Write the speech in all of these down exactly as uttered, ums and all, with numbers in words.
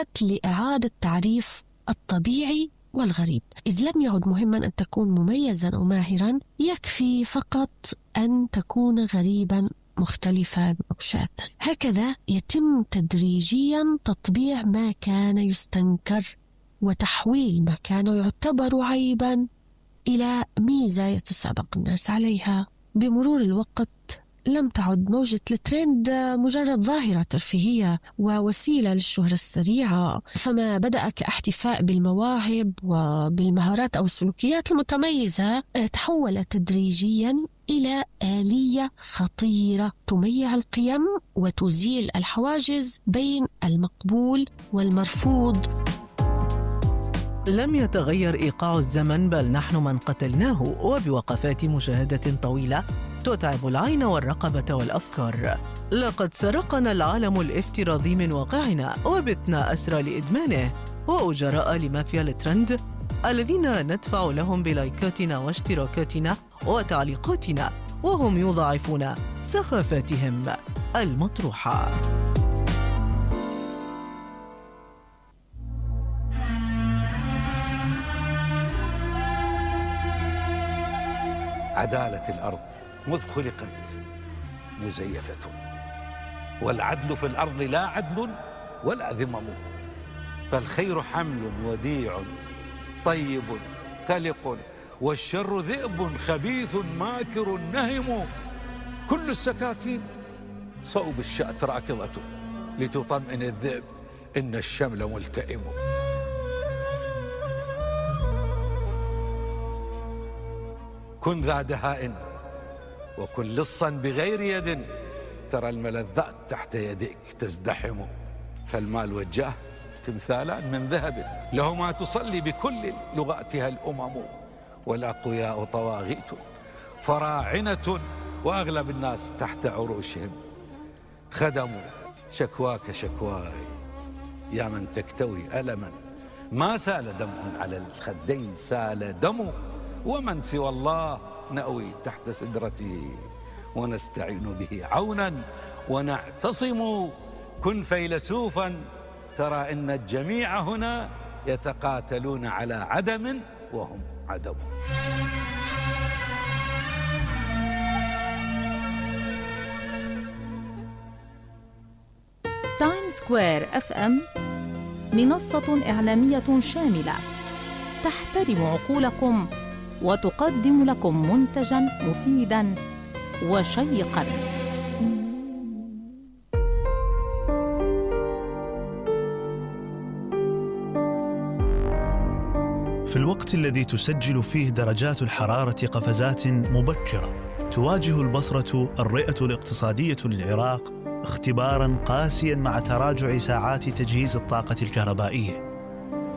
محاولات لإعادة تعريف الطبيعي والغريب، إذ لم يعد مهما أن تكون مميزا أو ماهرا، يكفي فقط أن تكون غريبا مختلفا أو شاذا. هكذا يتم تدريجيا تطبيع ما كان يستنكر وتحويل ما كان يعتبر عيبا إلى ميزة يتسابق الناس عليها. بمرور الوقت لم تعد موجة الترند مجرد ظاهرة ترفيهية ووسيلة للشهرة السريعة، فما بدأ كاحتفاء بالمواهب وبالمهارات أو السلوكيات المتميزة تحول تدريجيا إلى آلية خطيرة تميع القيم وتزيل الحواجز بين المقبول والمرفوض. لم يتغير إيقاع الزمن، بل نحن من قتلناه، وبوقفات مشاهدة طويلة تتعب العين والرقبة والأفكار. لقد سرقنا العالم الافتراضي من واقعنا، وبتنا أسرى لإدمانه، وأجراء لمافيا الترند الذين ندفع لهم بلايكاتنا واشتراكاتنا وتعليقاتنا، وهم يضاعفون سخافاتهم المطروحة. عدالة الأرض مذ خلقت مزيفة، والعدل في الأرض لا عدل ولا ذمم، فالخير حمل وديع طيب قلق، والشر ذئب خبيث ماكر نهم، كل السكاكين صوب الشأت راكضة، لتطمئن الذئب إن الشمل ملتئم. كن ذا دهاء وكن لصا بغير يد، ترى الملذات تحت يديك تزدحم، فالمال والجاه تمثالان من ذهب، لهما تصلي بكل لغاتها الأمم، والأقوياء طواغيت فراعنة، وأغلب الناس تحت عروشهم خدموا. شكواك شكواي يا من تكتوي ألما، ما سال دمع على الخدين سال دم، ومن سوى الله نأوي تحت سدرته، ونستعين به عونا ونعتصم. كن فيلسوفا ترى إن الجميع هنا يتقاتلون على عدم وهم عدم. تايم سكوير اف ام منصة إعلامية شاملة تحترم عقولكم وتقدم لكم منتجاً مفيداً وشيقاً. في الوقت الذي تسجل فيه درجات الحرارة قفزات مبكرة، تواجه البصرة الرئة الاقتصادية للعراق اختباراً قاسياً مع تراجع ساعات تجهيز الطاقة الكهربائية.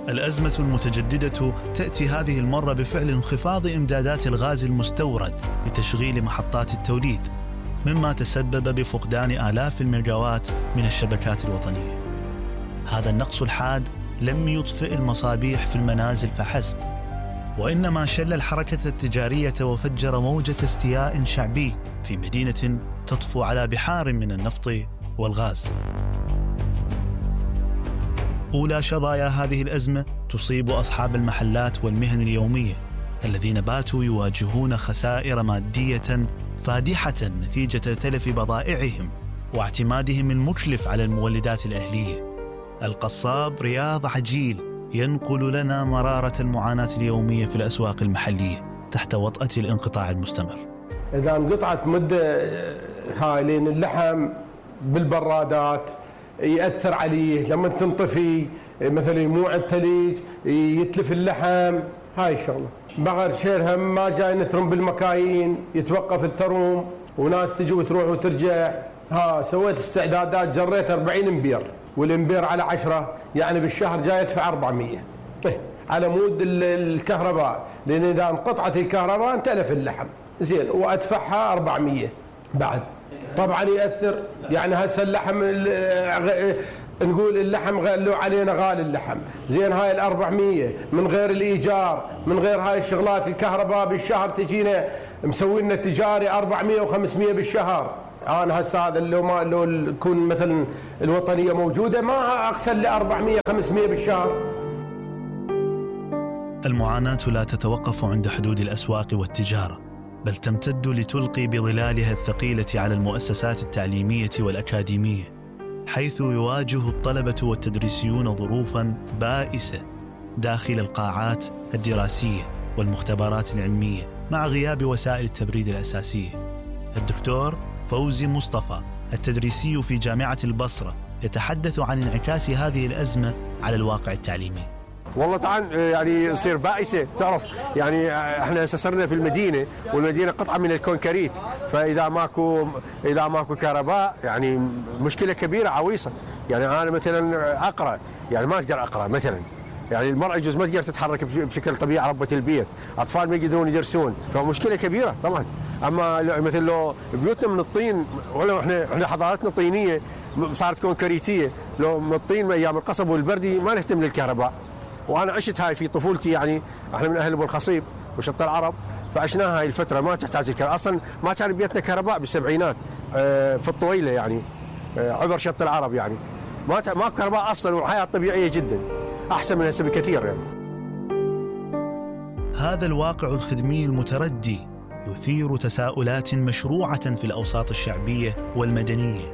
الأزمة المتجددة تأتي هذه المرة بفعل انخفاض إمدادات الغاز المستورد لتشغيل محطات التوليد، مما تسبب بفقدان آلاف الميجاوات من الشبكات الوطنية. هذا النقص الحاد لم يطفئ المصابيح في المنازل فحسب، وإنما شل الحركة التجارية وفجر موجة استياء شعبي في مدينة تطفو على بحار من النفط والغاز. أولى شظايا هذه الأزمة تصيب أصحاب المحلات والمهن اليومية الذين باتوا يواجهون خسائر مادية فادحة نتيجة تلف بضائعهم واعتمادهم المكلف على المولدات الأهلية. القصاب رياض عجيل ينقل لنا مرارة المعاناة اليومية في الأسواق المحلية تحت وطأة الانقطاع المستمر. إذا انقطعت مدة هاي لين اللحم بالبرادات يأثر عليه، لما تنطفي مثلا يموع الثليج يتلف اللحم، هاي الشغلة. بغر شيرهم ما جاي نثرم بالمكاين، يتوقف الثروم وناس تجي وتروح وترجع. ها سويت استعدادات، جريت أربعين امبير، والامبير على عشرة يعني بالشهر جاي يدفع أربعمية على مود الكهرباء، لأن إذا انقطعت الكهرباء انتلف اللحم زين، وأدفعها أربعمية بعد. طبعا يأثر، يعني هسه اللحم نقول اللحم غلوا علينا غالي اللحم، زين هاي الأربعمية من غير الإيجار من غير هاي الشغلات، الكهرباء بالشهر تجينا مسوينا تجاري أربعمية وخمسمية بالشهر. انا هسه هذا لو ما لو تكون مثلا الوطنيه موجوده ما اغسل لي أربعمية خمسمية بالشهر. المعاناة لا تتوقف عند حدود الأسواق والتجارة، بل تمتد لتلقي بظلالها الثقيلة على المؤسسات التعليمية والأكاديمية، حيث يواجه الطلبة والتدريسيون ظروفاً بائسة داخل القاعات الدراسية والمختبرات العلمية مع غياب وسائل التبريد الأساسية. الدكتور فوزي مصطفى التدريسي في جامعة البصرة يتحدث عن انعكاس هذه الأزمة على الواقع التعليمي. والله طبعا يعني يصير بائسه، تعرف يعني احنا صرنا في المدينه، والمدينه قطعه من الكونكريت، فاذا ماكو اذا ماكو كهرباء يعني مشكله كبيره عويصه. يعني انا مثلا اقرا يعني ما اقدر اقرا مثلا، يعني المرأة يجوز ما تقدر تتحرك بشكل طبيعي، ربة البيت، أطفال ما يقدرون يدرسون، فمشكلة كبيرة طبعا. أما مثل لو بيوتنا من الطين، ولا احنا احنا حضارتنا طينية صارت كونكريتية، لو من الطين من أيام القصب والبردي ما نهتم للكهرباء. وأنا عشت هاي في طفولتي، يعني احنا من أهل أبو الخصيب وشط العرب، فعشناها هاي الفترة ما تحتاج الكهرباء، أصلا ما كان بيتنا كهرباء بالسبعينات في الطويلة، يعني عبر شط العرب، يعني ما ما كهرباء أصلا، والحياة طبيعية جدا أحسن من هسه بكثير. يعني هذا الواقع الخدمي المتردي يثير تساؤلات مشروعة في الأوساط الشعبية والمدنية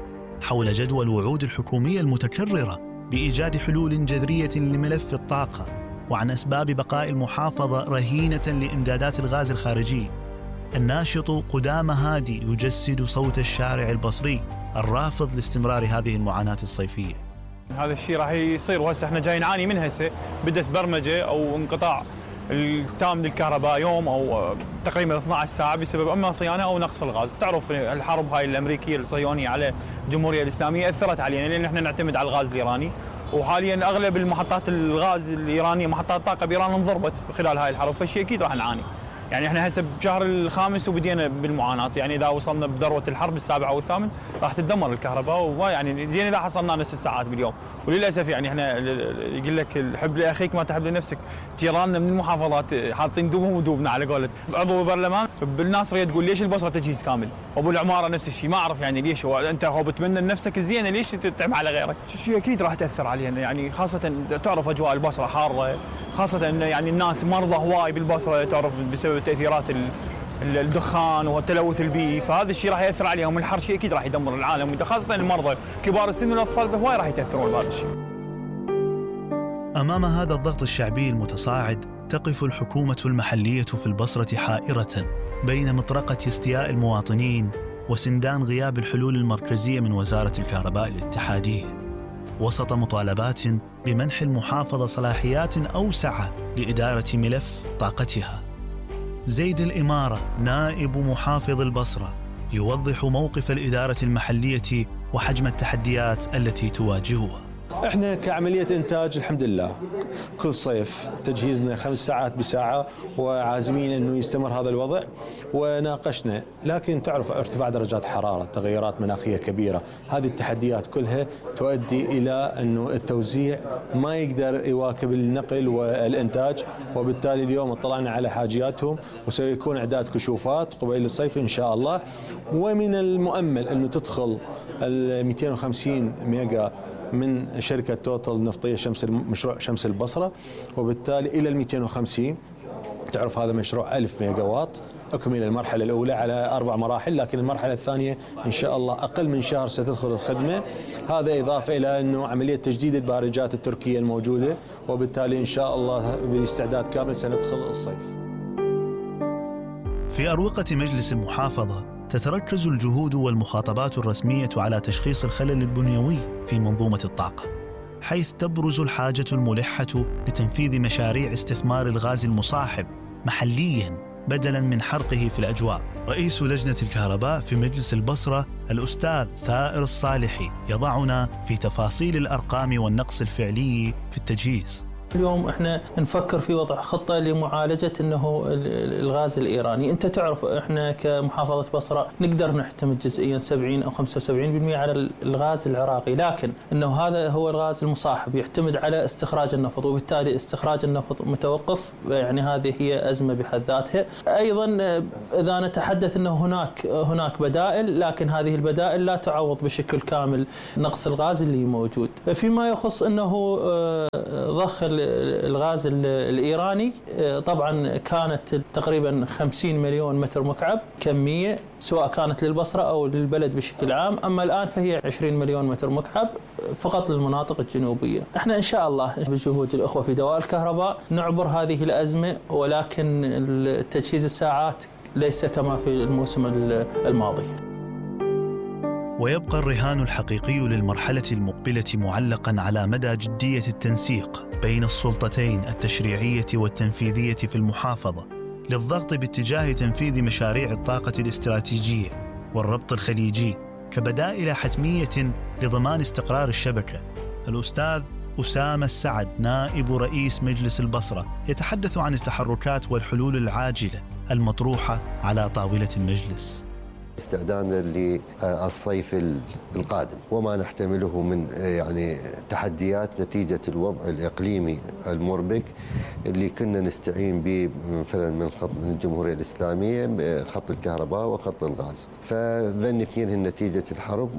حول جدوى الوعود الحكومية المتكررة بإيجاد حلول جذرية لملف الطاقة، وعن أسباب بقاء المحافظة رهينة لإمدادات الغاز الخارجي. الناشط قدامى هادي يجسد صوت الشارع البصري الرافض لاستمرار هذه المعاناة الصيفية. هذا الشيء راح يصير، وهسه احنا جاي نعاني منه. هسه بدت برمجه او انقطاع التام للكهرباء يوم او تقريبا اثنتي عشرة ساعه بسبب اما صيانه او نقص الغاز. تعرف الحرب هاي الامريكيه الصهيونيه على الجمهوريه الاسلاميه اثرت علينا، لان احنا نعتمد على الغاز الايراني، وحاليا اغلب المحطات الغاز الايرانيه محطات الطاقه بايران انضربت خلال هاي الحرب، فالشيء اكيد راح نعاني. يعني احنا هسه بشهر الخامس وبدينا بالمعاناه، يعني اذا وصلنا بذروه الحرب السابع او الثامن راح تتدمر الكهرباء، وما يعني زين اذا حصلنا نص ساعات باليوم. وللاسف يعني احنا يقول لك الحب لاخيك ما تحب لنفسك. جيراننا من المحافظات حاطين دوبهم ودوبنا على قولة عضو البرلمان بالناصريه تقول ليش البصره تجهيز كامل، وابو العماره نفس الشيء. ما اعرف يعني ليش هو انت هو بتمنى لنفسك الزينه، ليش تتعب على غيرك؟ الشيء اكيد راح تاثر علينا، يعني خاصه تعرف اجواء البصره حاره، خاصه انه يعني الناس مرضى هواي بالبصره، تعرف بسبب تاثيرات الدخان والتلوث البيئي، فهذا الشيء راح ياثر عليهم. الحر شيء اكيد راح يدمر العالم، خاصه المرضى كبار السن والاطفال هواي راح يتاثرون بهذا الشيء. امام هذا الضغط الشعبي المتصاعد تقف الحكومه المحليه في البصره حائره بين مطرقه استياء المواطنين وسندان غياب الحلول المركزيه من وزاره الكهرباء الاتحاديه، وسط مطالبات بمنح المحافظة صلاحيات أوسع لإدارة ملف طاقتها. زيد الإمارة نائب محافظ البصرة يوضح موقف الإدارة المحلية وحجم التحديات التي تواجهها. احنا كعملية انتاج الحمد لله كل صيف تجهيزنا خمس ساعات بساعة، وعازمين انه يستمر هذا الوضع، وناقشنا. لكن تعرف ارتفاع درجات حرارة، تغيرات مناخية كبيرة، هذه التحديات كلها تؤدي الى انه التوزيع ما يقدر يواكب النقل والانتاج، وبالتالي اليوم اطلعنا على حاجياتهم وسيكون اعداد كشوفات قبيل الصيف ان شاء الله. ومن المؤمل انه تدخل ال مئتين وخمسين ميجا من شركة توتال النفطية شمس مشروع شمس البصرة، وبالتالي إلى ال مئتين وخمسين. تعرف هذا مشروع ألف ميجا واط، أكمل المرحلة الأولى على أربع مراحل، لكن المرحلة الثانية إن شاء الله أقل من شهر ستدخل الخدمة. هذا إضافة إلى أنه عملية تجديد البارجات التركية الموجودة، وبالتالي إن شاء الله باستعداد كامل سندخل الصيف. في أروقة مجلس المحافظة تتركز الجهود والمخاطبات الرسمية على تشخيص الخلل البنيوي في منظومة الطاقة، حيث تبرز الحاجة الملحة لتنفيذ مشاريع استثمار الغاز المصاحب محلياً بدلاً من حرقه في الأجواء. رئيس لجنة الكهرباء في مجلس البصرة الأستاذ ثائر الصالحي يضعنا في تفاصيل الأرقام والنقص الفعلي في التجهيز. اليوم احنا نفكر في وضع خطة لمعالجة انه الغاز الايراني. انت تعرف احنا كمحافظة بصرة نقدر نعتمد جزئيا سبعين او خمسة وسبعين بالمئة على الغاز العراقي، لكن انه هذا هو الغاز المصاحب يعتمد على استخراج النفط، وبالتالي استخراج النفط متوقف، يعني هذه هي أزمة بحد ذاتها. ايضا اذا نتحدث انه هناك هناك بدائل، لكن هذه البدائل لا تعوض بشكل كامل نقص الغاز اللي موجود. فيما يخص انه ضخ الغاز الإيراني، طبعا كانت تقريبا خمسين مليون متر مكعب كمية، سواء كانت للبصرة أو للبلد بشكل عام. أما الآن فهي عشرين مليون متر مكعب فقط للمناطق الجنوبية. احنا إن شاء الله بجهود الأخوة في دواء الكهرباء نعبر هذه الأزمة، ولكن التجهيز الساعات ليس كما في الموسم الماضي. ويبقى الرهان الحقيقي للمرحلة المقبلة معلقاً على مدى جدية التنسيق بين السلطتين التشريعية والتنفيذية في المحافظة للضغط باتجاه تنفيذ مشاريع الطاقة الاستراتيجية والربط الخليجي كبدائل حتمية لضمان استقرار الشبكة. الأستاذ أسامة السعد نائب رئيس مجلس البصرة يتحدث عن التحركات والحلول العاجلة المطروحة على طاولة المجلس استعدادا للصيف القادم وما نحتمله من يعني تحديات نتيجة الوضع الإقليمي المربك اللي كنا نستعين به مثلا من خط من الجمهورية الإسلامية، خط الكهرباء وخط الغاز. فذن اثنين نتيجة الحرب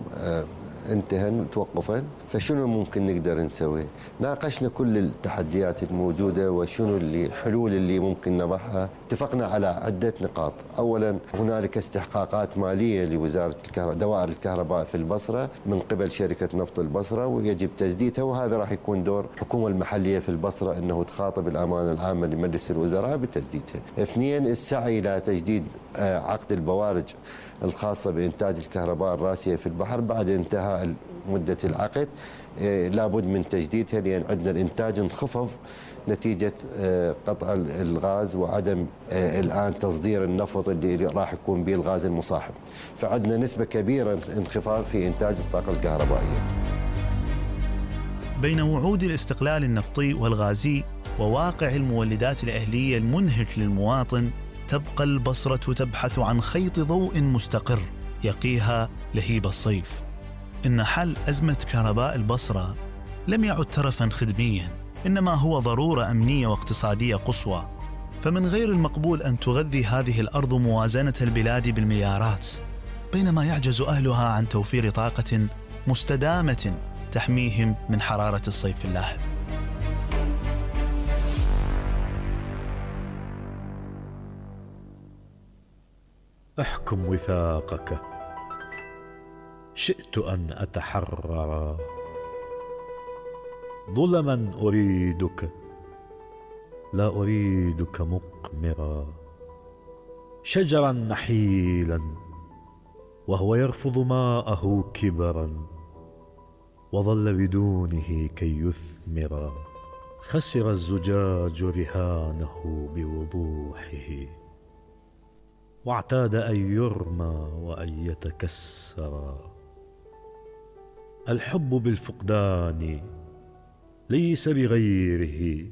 انتهن توقفا، فشنو ممكن نقدر نسوي؟ ناقشنا كل التحديات الموجودة وشنو اللي حلول اللي ممكن نضعها. اتفقنا على عدة نقاط. أولا هنالك استحقاقات مالية لوزارة الكهرباء دوائر الكهرباء في البصرة من قبل شركة نفط البصرة ويجب تجديدها، وهذا راح يكون دور الحكومة المحلية في البصرة أنه تخاطب الأمانة العامة لمجلس الوزراء بتجديدها. اثنين السعي إلى تجديد عقد البوارج الخاصة بإنتاج الكهرباء الراسية في البحر بعد انتهاء مدة العقد، لابد من تجديدها لأن عندنا الإنتاج انخفض نتيجة قطع الغاز وعدم الآن تصدير النفط اللي راح يكون به الغاز المصاحب، فعندنا نسبة كبيرة انخفاض في إنتاج الطاقة الكهربائية. بين وعود الاستقلال النفطي والغازي وواقع المولدات الأهلية المنهك للمواطن، تبقى البصرة تبحث عن خيط ضوء مستقر يقيها لهيب الصيف. إن حل أزمة كهرباء البصرة لم يعد ترفاً خدمياً، إنما هو ضرورة أمنية واقتصادية قصوى. فمن غير المقبول أن تغذي هذه الأرض موازنة البلاد بالمليارات بينما يعجز أهلها عن توفير طاقة مستدامة تحميهم من حرارة الصيف اللاهب. احكم وثاقك، شئت أن أتحرر. ظلما أريدك، لا أريدك مقمرا. شجرا نحيلا وهو يرفض ماءه كبرا، وظل بدونه كي يثمر. خسر الزجاج رهانه بوضوحه، واعتاد أن يرمى وأن يتكسر. الحب بالفقدان ليس بغيره،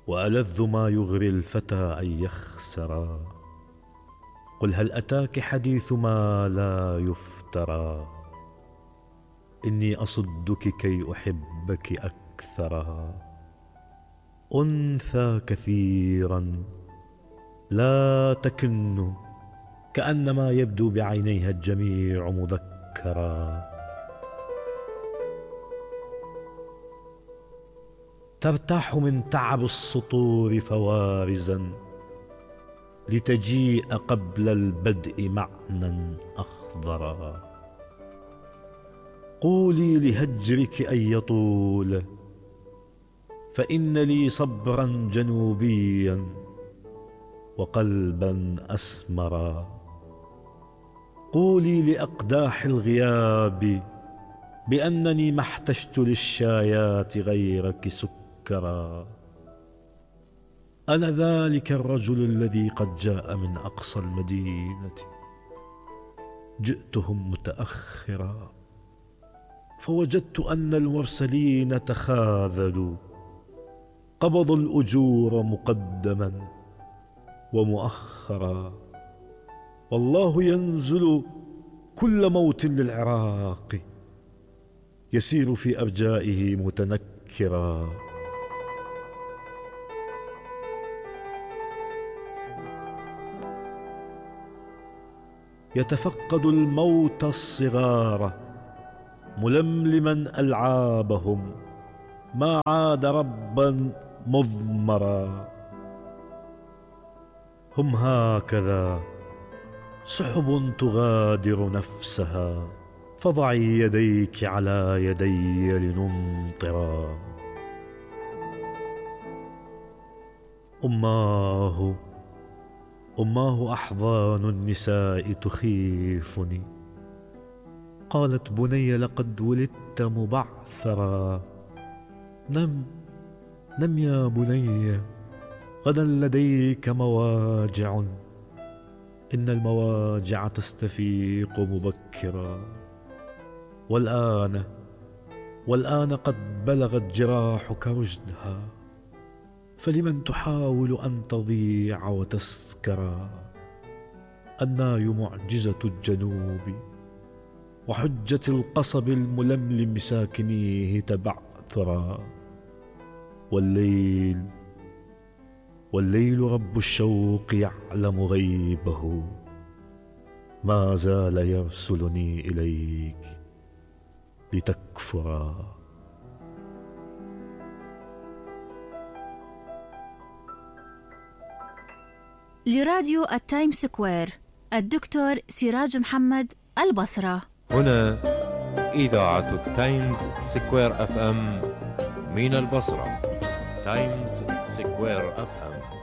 وألذ ما يغري الفتى أن يخسر. قل هل أتاك حديث ما لا يفترى، إني أصدك كي أحبك أكثر. أنثى كثيرا لا تكن، كأنما يبدو بعينيها الجميع مذكرا. ترتاح من تعب السطور فوارزا، لتجيء قبل البدء معنى أخضرا. قولي لهجرك أن يطول، فإن لي صبرا جنوبيا وقلبا أسمرا. قولي لأقداح الغياب بأنني ما احتجت للشايات غيرك سكرا. أنا ذلك الرجل الذي قد جاء من أقصى المدينة، جئتهم متأخرا، فوجدت أن المرسلين تخاذلوا قبضوا الأجور مقدما ومؤخرا، والله ينزل كل موت للعراق، يسير في أرجائه متنكرا. يتفقد الموت الصغار ململما ألعابهم، ما عاد ربا مضمرا. هم هكذا سحب تغادر نفسها، فضعي يديك على يدي لنمطرا. أماه أماه أحضان النساء تخيفني، قالت بني لقد ولدت مبعثرا. نم نم يا بني، غدا لديك مواجع، إن المواجع تستفيق مبكرا. والآن والآن قد بلغت جراحك رشدها، فلمن تحاول أن تضيع وتسكرا. الناي معجزة الجنوب، وحجة القصب الململم ساكنيه تبعثرا. والليل والليل رب الشوق يعلم غيبه، ما زال يرسلني إليك لتكفرا. لراديو التايم سكوير، الدكتور سراج محمد، البصرة. هنا إذاعة التايمز سكوير أف أم من البصرة. تايمز سكوير أف أم.